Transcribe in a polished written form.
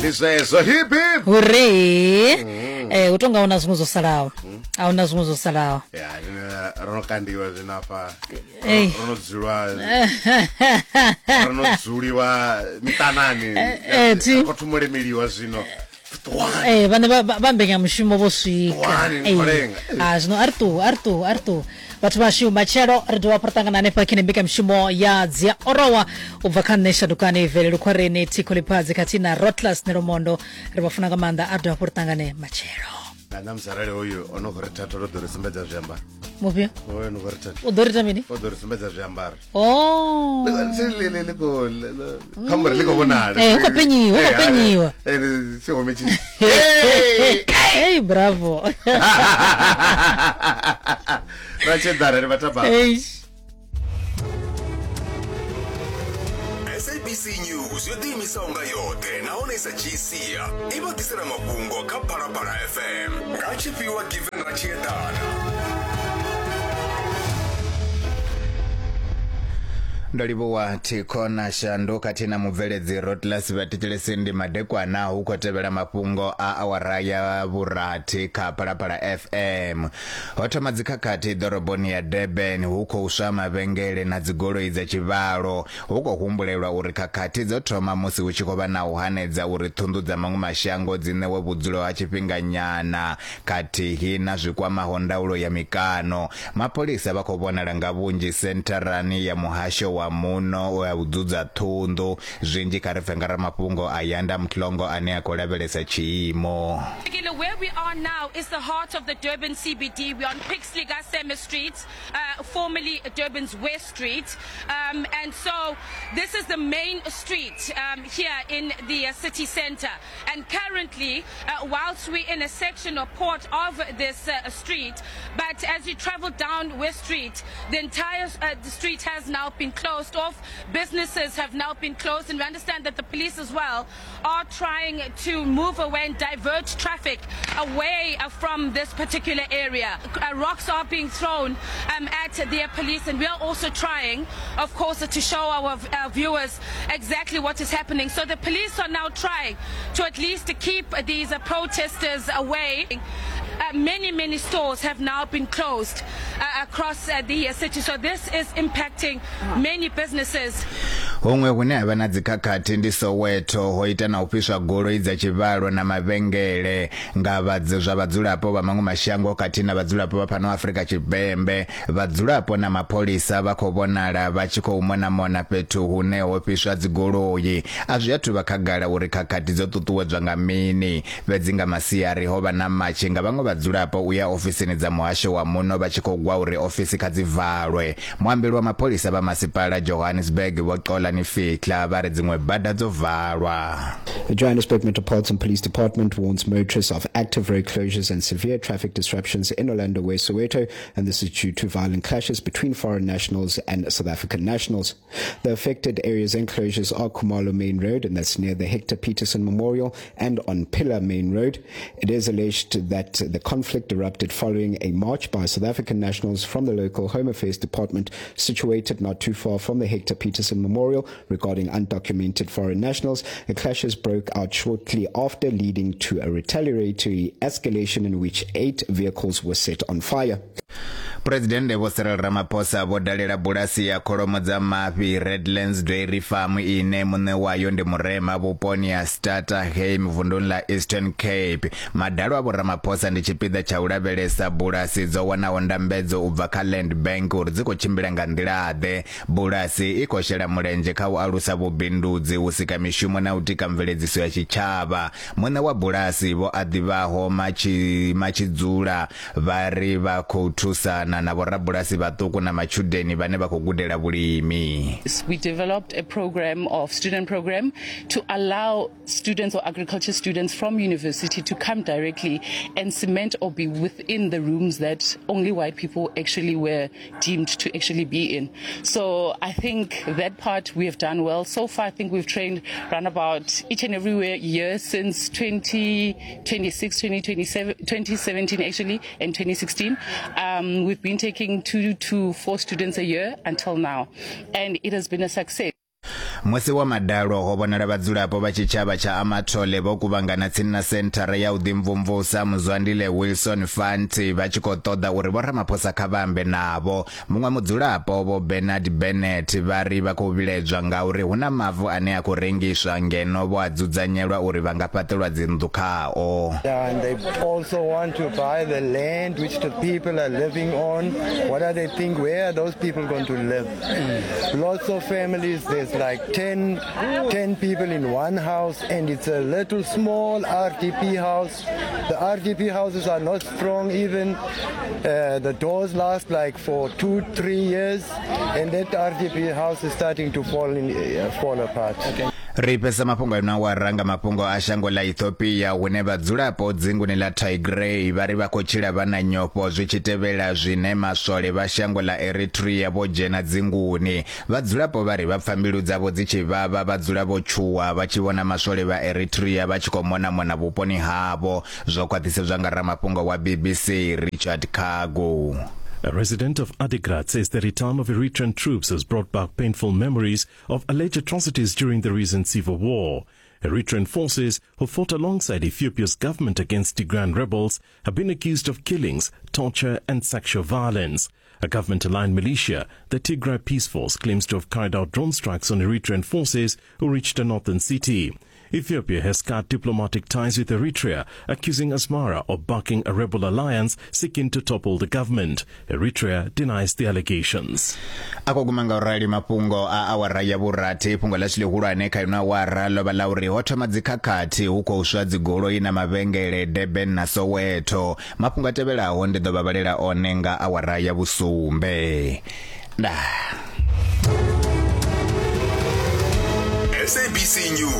Ndi zwezwo hip hip. Huree. Eh, u tonga ahuna zwiṅwe zwo salaho. Ahuna zwiṅwe zwo salaho. Ya, zwino ro no kandiwa zwino afha. Ei. Ro no dzulwa ro no dzuliwa miṱanani. Eh, thi. Khou thoma u lemeliwa zwino. Ṱuwani. Eh, vhane vha vha mbekanyamushumo vho swika. Ṱuwani, Eh. ni lenga. Ah, zwino a ri ṱuwe, a ri ṱuwe, a ri ṱuwe. Vhathu vhashu matshelo ri dovha hafhu ra ṱangana hanefha kha ine mbekanyamushumo ya dzia orowa u bva kha nṋe Shandukani Vele Lukhwareni Thikho Liphadzi khathihi na Rotlas Nelomondo ri vha funa nga maanḓa a ri dovha hafhu ri ṱangane matshelo. Na ṋamusi arali hoyu o no khou ri thatha o ḓo ri sumbedza zwiambaro. Mufhio? Hoyu no khou ri thatha. U ḓo ri ita mini? O ḓo ri sumbedza zwiambaro. Oh. Li khou kha muri ḽi khou vhonala. Eh, hu khou penyiwa, hu khou penyiwa. Eh, tshihome tshi. Hey, bravo. Ra tshedara ri vhataba. Eish. SABC News yo ḓiimisaho nga yoṱhe nahone i sa dzhii sia i vha ḓisela mafhungo kha Phalaphala FM nga tshifhiwa Given Ratshiedana. Ndo livhuwa Thikho na Shandu khathihi na mubveledzi Rotlas. Vhathetshelesi ndi madekwana hu khou tevhela mafhungo a awara ya vhurathi kha Phalaphala FM. Ho thoma dzikhakhathi ḓoroboni ya Durban hu khou swa mavhengele na dzigoloi dza tshivhalo. Hu khou humbulelwa uri khakhathi dzo thoma musi hu tshi khou vha na u hanedza uri ṱhunḓu dza maṅwe mashango dzi ṋewe vhudzulo ha tshifhinganyana khathihi na zwi kwamaho ndaulo ya mikano. Mapholisa vha khou vhonala nga vhunzhi sentharani ya muhasho wa muno wa u dzudza ṱhunḓu. Zwinzhi kha ri pfe nga ramafhungo Ayanda Mhlongo ane a khou lavhelesa tshiimo. Where we are now is the heart of the Durban CBD. We're on Pixley Ka Seme Street, formerly Durban's West Street. And so this is the main street here in the city center. And currently, whilst we're in a section or port of this street, but as you travel down West Street, the entire the street has now been closed off. Businesses have now been closed, and we understand that the police as well are trying to move away and divert traffic away from this particular area. Rocks are being thrown at the police, and we are also trying, of course, to show our viewers exactly what is happening. So the police are now trying to at least keep these protesters away. Many, many stores have now been closed across the city. So this is impacting many businesses. Huṅwe hune ha vha na dzikhakhathi ndi Soweto, ho ita na u fhiswa goloi dza tshivhalo na mavhengele nga vha zwa vhadzulapo vha maṅwe mashango khathihi na vhadzulapo vha fhano Afrika Tshipembe. Vhadzulapo na mapholisa vha khou vhonala vha tshi khou mona-mona fhethu hune ho fhiswa dzigoloi. A zwi athu vha khagala uri khakhathi dzo ṱuṱuwedzwa nga mini, fhedzi nga masiari ho vha na matshi nga vhaṅwe vhadzulapo u ya ofisini dza muhasho wa muno vha tshi khou gwa uri ofisi kha dzi valwe. Muambeli wa mapholisa vha masipala Johannesburg Vho Xolani Fihla vha ri dziṅwe bada dzo valwa. The Johannesburg Metropolitan Police Department warns motorists of active road closures and severe traffic disruptions in Orlando West, Soweto, and this is due to violent clashes between foreign nationals and South African nationals. The affected areas and closures are Khumalo Main Road, and that's near the Hector Peterson Memorial, and on Pillar Main Road. It is alleged that the conflict erupted following a march by South African nationals from the local Home Affairs Department situated not too far from the Hector Peterson Memorial regarding undocumented foreign nationals. The clashes broke out shortly after, leading to a retaliatory escalation in which eight vehicles were set on fire. Phresidennde Vho Cyril Ramaphosa vho dalela bulasi ya kholomo dza mafhi Redlands Dairy Farm ine muṋe wayo ndi murema vhuponi ha Stutterheim vunduni ḽa Eastern Cape. Madalo a Vho Ramaphosa ndi tshipiḓa tsha u lavhelesa bulasi dzo wanaho ndambedzo u bva kha Land Bank uri dzi khou tshimbila nga nḓila-ḓe. Bulasi i khou shela mulenzhe kha u alusa vhubindudzi, u sika mishumo na u tika mveledziso ya tshitshavha. Muṋe wa bulasi Vho Aḓivhaho Matshidzula Vha ri vha khou thusana na vhorabulasi vhaṱuku na matshudeni vhane vha khou gudela vhulimi. We developed a program of student program to allow students or agriculture students from university to come directly and cement or be within the rooms that only white people actually were deemed to actually be in. So I think that part we have done well. So far, I think we've trained around about each and every year since 2026, 2027, 2017 actually, and 2016. We've been taking 2 to 4 students a year until now, and it has been a success. Musi wa madalo ho vhonala vhadzulapo vha tshitshavha tsha Amathole vho kuvhangana tsini na senthara ya u ḓimvumvusa Muzwandile Wilson Fanti vha tshi khou ṱoḓa uri Vho Ramaphosa kha vha ambe navho. Muṅwe mudzulapo Vho Bernard Bennett vha ri vha khou vhilaedzwa ngauri hu na mavu ane a khou rengiswa ngeno vho a dzudzanyelwa uri vha nga fhaṱelwa dzinnḓu khao. And they also want to buy the land which the people are living on. What are they think? Where are those people going to live? Lots of families, there's like 10, 10 people in one house, and it's a little small RDP house. The RDP houses are not strong even. The doors last like for 2-3 years, and that RDP house is starting to fall apart. Okay. Ri fhesa mafhungo ino awara nga mafhungo a shango ḽa Ethiopia hune vhadzulapo dzinguni ḽa Tigray vha ri vha khou tshila vha na nyofho zwi tshi tevhela zwine maswole vha shango ḽa Eritrea vho dzhena dzinguni. Vhadzulapo vha ri vha pfa mbilu dzavho dzi tshi vhavha vha dzula vho tshuwa vha tshi vhona maswole vha Eritrea vha tshi khou mona-mona vhuponi havho. Zwo khwaṱhisedzwa nga ramafhungo wa BBC Richard Khagu. A resident of Adigrat says the return of Eritrean troops has brought back painful memories of alleged atrocities during the recent civil war. Eritrean forces who fought alongside Ethiopia's government against Tigrayan rebels have been accused of killings, torture and sexual violence. A government-aligned militia, the Tigray Peace Force, claims to have carried out drone strikes on Eritrean forces who reached a northern city. Ethiopia has cut diplomatic ties with Eritrea, accusing Asmara of backing a rebel alliance seeking to topple the government. Eritrea denies the allegations. A khou guma nga u rali mafhungo a awara ya vhurathi. Fhungo ḽashu ḽihulwane kha ino awara ḽo vha ḽa uri ho thoma dzikhakhathi hu khou swa dzigoloi na mavhengele Durban na Soweto. Mafhungo a tevhelaho ndi ḓo vha vhalela one nga awara ya vhusumbe. Ndaa. SABC News.